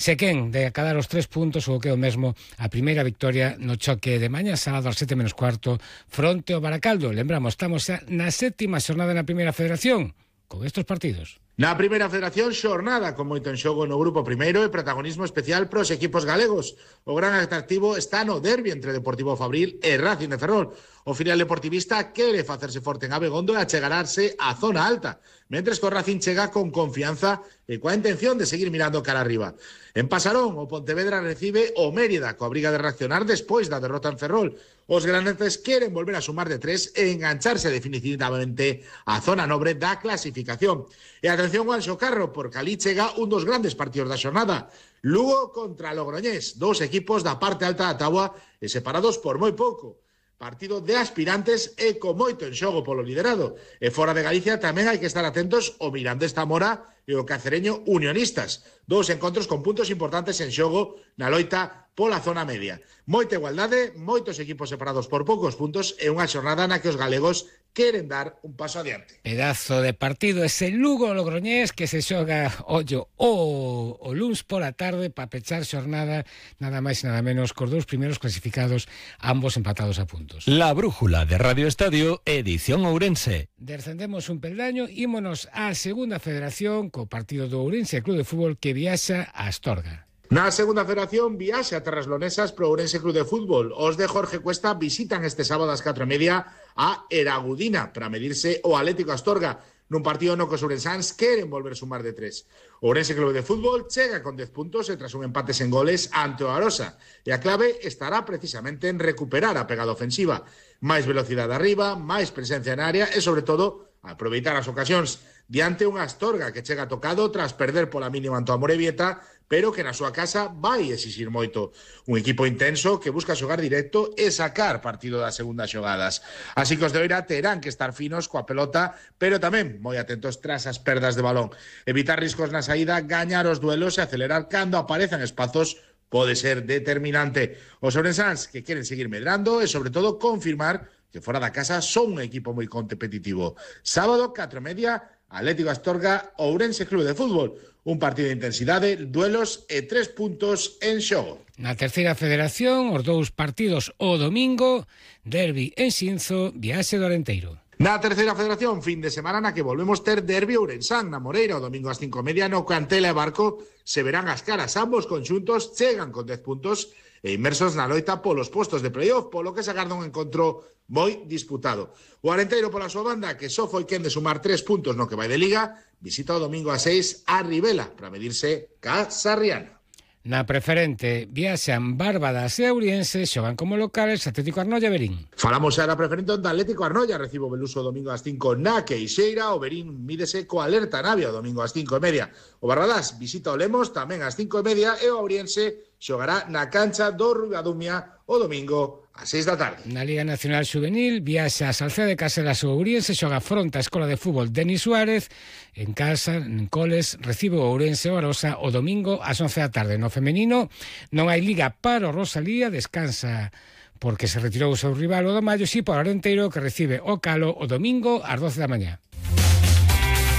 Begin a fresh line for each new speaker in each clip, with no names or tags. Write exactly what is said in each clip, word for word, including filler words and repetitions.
Se quen de acadar os tres puntos o que é o mesmo a primeira victoria no choque de mañá sábado ás sete menos cuarto fronte ao Baracaldo. Lembramos, estamos xa na sétima xornada na Primeira Federación con estes partidos.
Na Primeira Federación, xornada con moito en xogo no grupo primeiro e protagonismo especial pros equipos galegos. O gran atractivo está no derbi entre Deportivo Fabril e Racing de Ferrol. O filial deportivista quere facerse forte en Abegondo e achegararse á zona alta, mentres que o Racing chega con confianza e coa intención de seguir mirando cara arriba. En Pasarón, o Pontevedra recibe o Mérida, coa briga de reaccionar despois da derrota en Ferrol. Os grandes queren volver a sumar de tres e engancharse definitivamente á zona nobre da clasificación. E atención ao Anxo Carro, porque ali chega un dos grandes partidos da xornada. Lugo contra Logroñés, dous equipos da parte alta da táboa e separados por moi pouco. Partido de aspirantes e con moito en xogo polo liderado. E fora de Galicia tamén hai que estar atentos ao Mirandés Zamora e o Cacereño Unionistas. Dous encontros con puntos importantes en xogo na loita pola zona media. Moita igualdade, moitos equipos separados por poucos puntos e unha xornada na que os galegos queren dar un paso adiante.
Pedazo de partido ese Lugo Logroñés que se xoga, ollo, o, o luns pola tarde para pechar xornada nada máis e nada menos cos dous primeiros clasificados, ambos empatados a puntos.
La Brújula de Radio Estadio, edición Ourense.
Descendemos un peldaño, ímonos á Segunda Federación co partido do Ourense Club de Fútbol que viaxa a Astorga.
Na Segunda Federación, viaxe a Terras Lonesas pro Ourense Club de Fútbol. Os de Jorge Cuesta visitan este sábado ás catro e media a Eragudina para medirse o Atlético Astorga nun partido no que os ourensáns queren volver sumar de tres. O Ourense Club de Fútbol chega con dez puntos e tras un empate sen goles ante o Arosa. E a clave estará precisamente en recuperar a pegada ofensiva. Máis velocidade arriba, máis presencia en área e, sobre todo, aproveitar as ocasións diante unha Astorga que chega tocado tras perder pola mínima ante o Amorebieta, pero que na súa casa vai exixir moito. Un equipo intenso que busca xogar directo e sacar partido das segundas xogadas. Así que os de Oira terán que estar finos coa pelota, pero tamén moi atentos tras as perdas de balón. Evitar riscos na saída, gañar os duelos e acelerar cando aparezan espazos pode ser determinante. Os ourensáns que queren seguir medrando e, sobre todo, confirmar que fora da casa son un equipo moi competitivo. Sábado, catro e media, Atlético Astorga, Ourense Club de Fútbol. Un partido de intensidade, duelos e tres puntos en xogo.
Na Terceira Federación, os dous partidos o domingo, derbi en Xinzo, viaxe do Arenteiro.
Na Terceira Federación, fin de semana na que volvemos ter derbi ourensán na Moreira, o domingo ás cinco e media no Cantela e Barco se verán as caras. Ambos conxuntos chegan con dez puntos e inmersos na loita polos postos de playoff, polo que se agarda un encontro moi disputado. O Arenteiro pola súa banda, que só foi quen de sumar tres puntos no que vai de Liga, visita o domingo a seis a Ribela para medirse ca Sarriana.
Na Preferente, viaxan Bárbadas e Ouriense, xogan como locales Atlético Arnoia e Verín.
Falamos xa da Preferente onde Atlético Arnoia recibe o Beluso o domingo ás cinco na Queixeira, o Verín mídese co Alerta Navia o domingo ás cinco e media. O Barbadás visita o Lemos tamén ás cinco e media e o Ouriense xogará na cancha do Ribadumia o domingo ás seis da tarde.
Na Liga Nacional Juvenil, viaxa a Salceda de Caselas o Ouriense, xoga fronte á Escola de Fútbol Denis Suárez, en casa, en Coles, recibe o Ourense o Arosa o domingo ás once da tarde. No femenino non hai liga para o Rosalía, descansa porque se retirou o seu rival o do Mayo, si para o Arenteiro que recibe o Calo o domingo ás doce da mañá.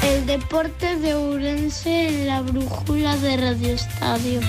El deporte de Ourense en la brújula de Radio Estadio.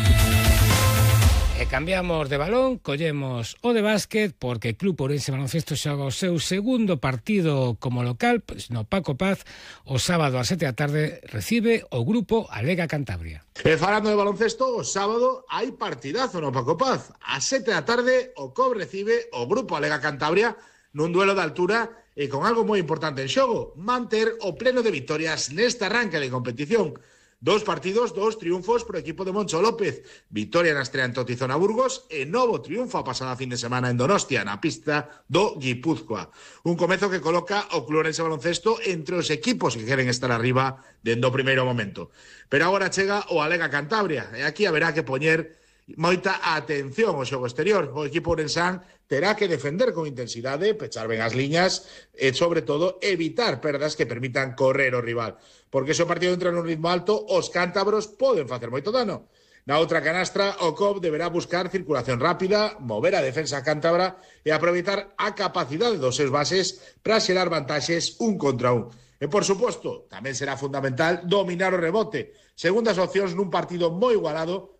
E cambiamos de balón, collemos o de básquet, porque Club Ourense Baloncesto xoga o seu segundo partido como local, pois no Paco Paz, o sábado ás sete da tarde recibe o grupo Alega Cantabria.
E falando de baloncesto, o sábado hai partidazo no Paco Paz. Ás sete da tarde o C O B recibe o grupo Alega Cantabria nun duelo de altura e con algo moi importante en xogo, manter o pleno de victorias neste arranque de competición. Dos partidos, dos triunfos pro equipo de Moncho López. Victoria na estrea en Totizona Burgos e novo triunfo a pasada fin de semana en Donostia, na pista do Guipúzcoa. Un comezo que coloca o Club Ourense Baloncesto entre os equipos que queren estar arriba dende o primeiro momento. Pero agora chega o Alega Cantabria e aquí haberá que poñer moita atención ao xogo exterior. O equipo ourensán terá que defender con intensidade, pechar ben as liñas e, sobre todo, evitar perdas que permitan correr o rival. Porque se o partido entra nun ritmo alto, os cántabros poden facer moito dano. Na outra canastra, o C O B deberá buscar circulación rápida, mover a defensa cántabra e aproveitar a capacidade dos seus bases para xerar vantaxes un contra un. E, por suposto, tamén será fundamental dominar o rebote. Segundas opcións nun partido moi igualado